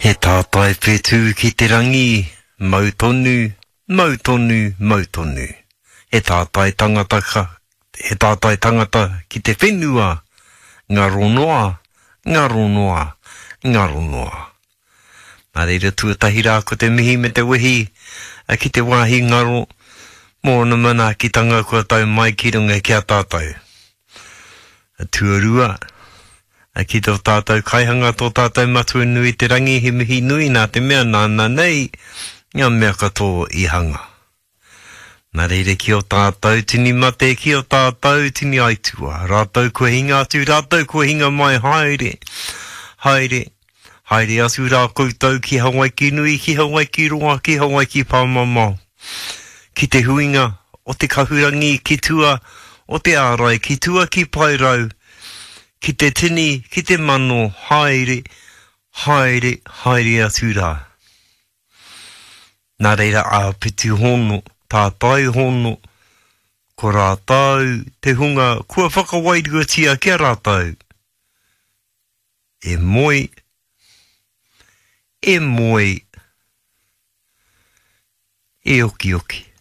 He tātai whetū ki te rangi, mau tonu, mau tonu, mau tonu. He tātai tangata ka, he tātai tangata ki te whenua, ngaro noa, ngaro noa, ngaro noa. Nā reira tuatahi rā ko te mihi me te wehi ki te wāhi ngaro mō ōna manaakitanga kua tau mai ki runga ki a tātou. Tuarua, ki tō tātou kaihanga, tō tātou Matua nui te rangi, he mihi nui nā te mea nāna nei ngā mea katoa i hanga. Nā reira ki ō tātou tini mate, ki ō tātou tini aituā, rātou kua hinga atu, rātou kua hinga mai, haere, haere, haere atu rā koutou ki Hawaiki nui, ki Hawaiki roa, ki Hawaiki pāmamao, ki te huinga o te kahurangi ki tua o te ārai, ki tua ki Paerau, ki te tini, ki te mano, haere, haere, haere atu rā. Nā reira āpiti hono, tātai hono, ko rātou te hunga kua whakawairuatia ki a rātou, e moe, e moe, e okioki.